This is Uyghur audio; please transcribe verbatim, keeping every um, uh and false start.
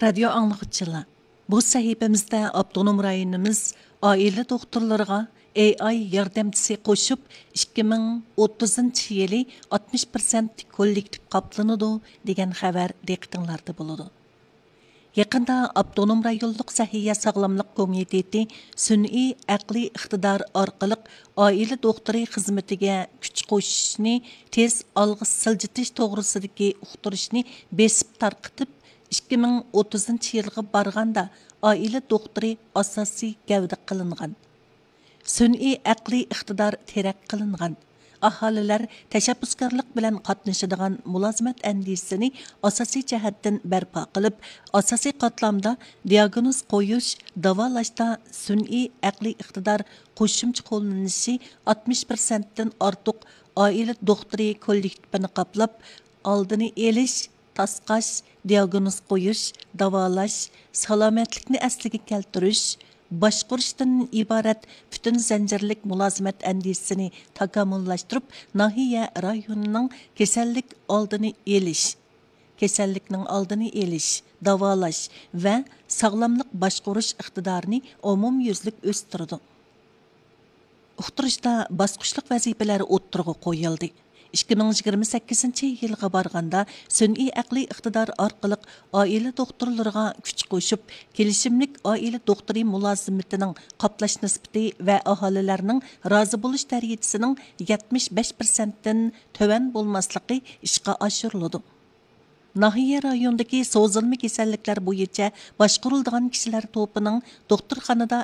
رادىيو ئاڭلىغۇچىلار، بۇ سەھىپىمىزدە ئاپتونوم رايونىمىز ئائىلە دوختۇرلىرىغا ئېي ئاي ياردەمچىسى قوشۇپ، ئىككى مىڭ ئوتتۇزىنچى يىلى ئاتمىش پىرسەنت كوللېكتىپ قاپلىنىدۇ دېگەن خەۋەر دىققىتىڭلاردا بولىدۇ. يېقىندا ئاپتونوم رايونلۇق سەھىيە ساغلاملىق كومىتېتى سۈنئىي ئەقلىي ئىقتىدار ئارقىلىق ئائىلە دوختۇرى خىزمىتىگە كۈچ قوشۇشنى تېز ئالغا سىلجىتىش توغرىسىدىكى ئۇقتۇرۇشنى بېسىپ تارقىتىپ، ئىككى مىڭ ئوتتۇزىنچى يىلغا بارغاندا ئائىلە دوختۇرى ئاساسىي گەۋدە قىلىنغان، سۈنئىي ئەقلىي ئىقتىدار تەرەققىي قىلىنغان، ئاھالىلەر تەشەببۇسكارلىق بىلەن قاتنىشىدىغان مۇلازىمەت ئەندىزىسىنى ئاساسىي جەھەتتىن بەرپا قىلىپ، ئاساسىي قاتلامدا دىياگنوز قويۇش، داۋالاشتا سۈنئىي ئەقلىي ئىقتىدار قوشۇمچە قوللىنىشى ئاتمىش پىرسەنتتىن ئارتۇق ئائىلە دوختۇرى كوللېكتىپىنى قاپلاپ، ئالدىنى ئېلىش، تاسقاش، دىياگنوز قويۇش، داۋالاش، سالامەتلىكنى ئەسلىگە كەلتۈرۈش، باشقۇرۇشتىن ئىبارەت پۈتۈن زەنجىرلىك مۇلازىمەت ئەندىزىسىنى تاكامۇللاشتۇرۇپ، ناھىيە رايونىنىڭ كېسەللىك ئالدىنى ئېلىش، كېسەللىكنىڭ ئالدىنى ئېلىش، داۋالاش ۋە ساغلاملىق باشقۇرۇش ئىقتىدارىنى ئومۇميۈزلۈك ئۆستۈرىدۇ. ئۇقتۇرۇشتا باسقۇچلۇق ۋەزىپىلەر ئوتتۇرىغا قويۇلدى. ئىككى مىڭ يىگىرمە سەككىزىنچى يىلغا بارغاندا، سۈنئىي ئەقلىي ئىقتىدار ئارقىلىق ئائىلە دوختۇرلىرىغا كۈچ قوشۇپ، كېلىشىملىك ئائىلە دوختۇرى مۇلازىمىتىنىڭ قاپلاش نىسبىتى ۋە ئاھالىلەرنىڭ رازى بولۇش دەرىجىسىنىڭ يەتمىش بەش پىرسەنتتىن تۆۋەن بولماسلىقى ئىشقا ئاشۇرۇلىدۇ. ناھىيە رايونىدىكى سوزۇلما كېسەللىكلەر بويىچە باشقۇرۇلىدىغان كىشىلەر توپىنىڭ دوختۇرخانىدا